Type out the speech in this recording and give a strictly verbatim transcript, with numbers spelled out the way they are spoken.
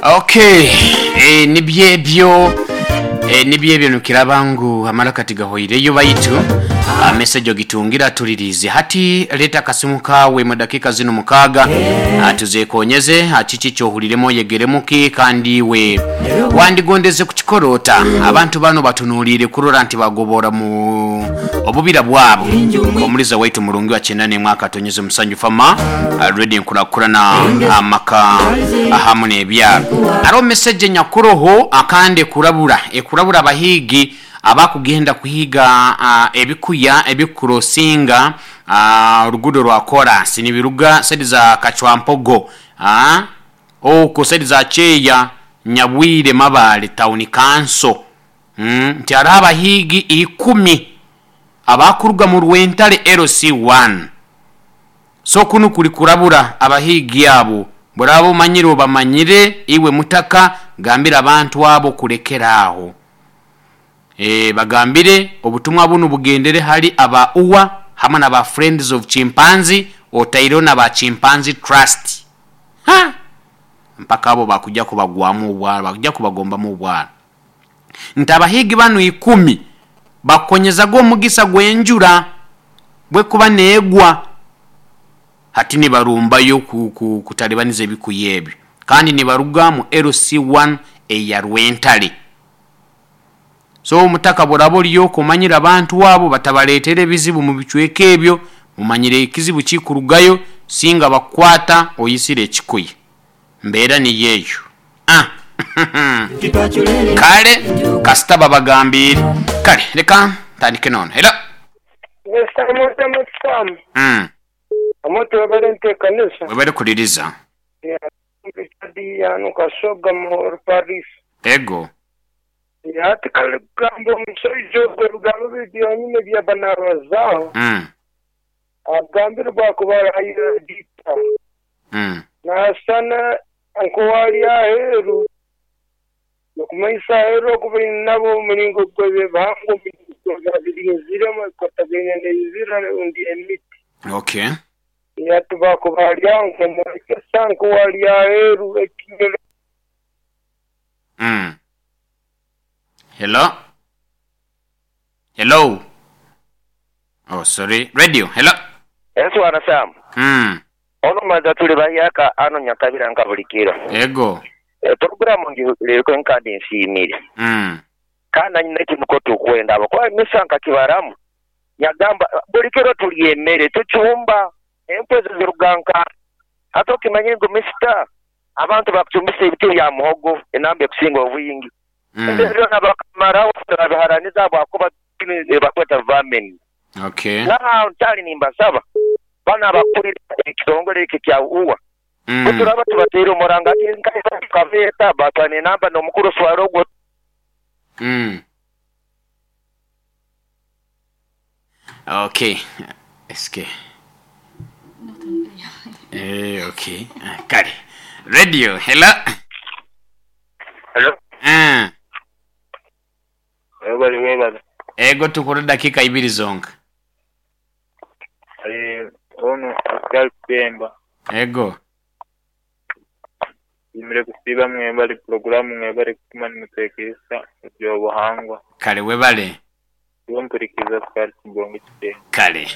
Okay, eh, nibyo ebyo eh, nibyo ebyo nukiraba ngu amalaka tigahoireyo baitu ah, message ogitungira tulirize. Hati leta akasimu kawe mu dakika zino mukaaga, ah, tuzekonyeze, ah, kiki kyohuliremu, oyegeremuki, kandi iwe wandigondeze kukikorota. Abantu bano batunuulire kurora nti bagobora mu obubira bwabo. Omuliza waitu murungi wa kyenda n'emwaka atonyeze musanju fama ready nkurakurana amaka ahamu n'ebyaro. Hariho message nyakuroho akandi ekurabura ekurabura abahiigi abakugenda kuhiga ah, ebikuya ebikurosinga ah, oruguudo rwa korasi nibiruga sedi za Kachwampogo, ah, okwo sedi za Kyeya, Nyabwire, Mabale Town Council, mm, nti hariho abahiigi ikumi abakuruga mu Rwentare L C one. So kunu kuli kurabura abahiigi abo. Buraba omanyire, obamanyire, iwe mutaka gambira abantu abo kulekera aho. e, bagambire obutumwa bunu bugendere hali aba U A hamwe naba Friends of Chimpanzee, otaireho naba Chimpanzee Trust. Ha! Mpaka abo bakujja kubagwamu obwara, bakujja kubagombamu obwara, nti abahiigi banu ikumi bakonyezaga omugisa gw'enjura bwekuba neegwa, hati nibarumbayo ku- ku- kutalibaniza ebikuya ebyo, kandi nibaruga mu L C one eya Rwentale. So omutaka buraba oriyo kumanyira abantu abo batabaletera ebizibu mu bicweka ebyo, mumanyire ekizibu kikurugayo singa bakukwata oyisire ekikuya. Mbeera niyo eyo. Ah. Kale kasita babagambire. Kale reka ntandike nono era. Sam. mm. Omuntu webale ntekanisa. Webale kuliriza. Yano Kasoga Muhoro Paris. Ego. Ati kale kugamba omushaija ogwo ebigambo biri byonyine byaba nabazaaho, mm. agambire bwakuba arahayira mm. nasana nk'owali aheeru nokumanyisa aheeru okuba nabo omuringo gw'ebihangwa, omuringo birinziremu ekwatagaine n'ebibira rundi emiti. Okay ati bakuba ari aho nkomwekesa nk'owali aheeru ekinyoro. mm. hello hello, oh sorry, radio, hello. Enswana Sam. mm. Ono maza tuli bahyaka ano Nyakabira nka bulikiro. Ego. E, programu ngireko enkandi nsiimire. mm. Kana nyina ekimuko tukwenda abo kuba misanka kibaramu yagamba bulikiro tulya emmere, tucumba empwe ezo ziruga nka ate okimanye ngu misita abantu bakucumbisa ebiti bya muhogo enamba ekusinga obwingi. mm. Byona bakamaraho babiharaniza bwakuba bakweta vermin. Okay naha nkyali nimbasaba bana abakulira ekitongole eki kya U A, mm. buturaba tubateire omuranga ati nkabeeta batwana enamba n'omukuru swara ogwo. Mm. Okay. Eske. Eh, okay. Ah, kale. Radio, hello. Hello. Ah, Webale, webale. Ego, tukora dakika ibiri zonka. Eh, ono Pascal Pemba. Ego. Imire kusiiba, mwebale puroguramu, mwebale kutuma nimuteekesa ebyobuhangwa. Kale webale. Iwe mpurikiza Pascal Kibonge Kitenga. Kale.